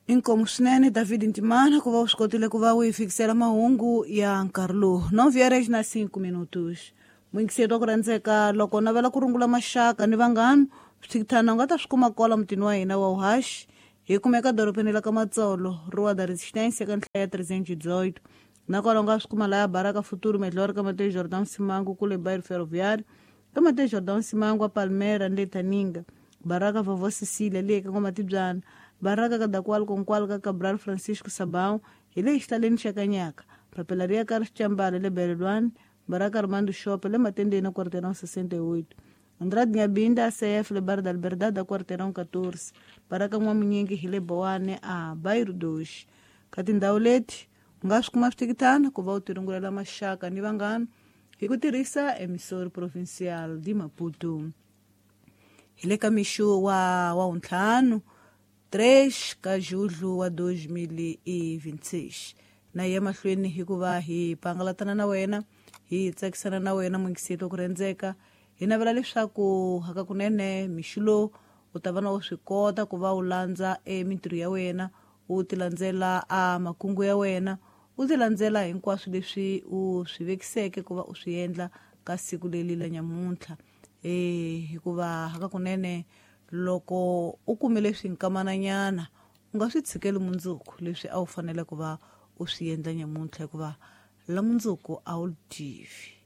Inkomu swinene David Ntimana ku va u swi kotile ku va u hi fikisela mahungu ya nkarhi lowu 9 na 5 minutos. Muyingiseri wa ku rhandzeka, loko u navela ku rungula maxaka ni vanghana, swithikithana u nga ta swi kuma kwala mutini wa hina wa Uhashi. Hi kumeka dorobeni la ka Matsolo, Rua da Resistência, ka nhlaya ya 318. Nakona u nga swi kuma laya Baraka Futuro Melhor ka Mateus Jordão Simango kule bairro Ferroviário, ka Mateus Jordão Simango a Palmeiras ni le Taninga, Baraka Vovó Cecília le ka N'wamatibyana, Baraka ka Dakwal Konkwal ka Cabral Francisco Sabão hi le xihlaleni xa Kanyaka, Papelaria Carlos Chambala le Belelwani, Baraka Armando Shop le Matendeni quarteirão 68. Andrade Nyabinda ACF le Bar da Liberdade quarteirão 14, Baraka N'wamunyingi hi le Boane a Bairro 2. Ka tindhawu leti u nga swi kuma swithikithana ku va u tirungulela maxaka ni vanghana hi ku tirhisa Emissora Provincial de Maputo. Hi le ka mixo wa wuntlhanu 3 ka Julho wa 2026. Na hi ya mahlweni hikuva hi pangalatana na wena, hi tsakisana na wena muyingiseri wa ku rhandzeka. Hi navela leswaku hakakunene mixo lowu u ta va na u swi kota ku va u landza emintirho ya wena, u ti landzela a makungu ya wena, u ti landzela hinkwaswo leswi u swi vekiseke ku va u swi endla ka siku leri la nyamuntlha. Hikuva hakakunene loko u kumile swinkamananyana u nga swi tshikeli mundzuku leswi a wu fanele ku va u swi endla nyamuntlha, hikuva la mundzuku a wu tivi.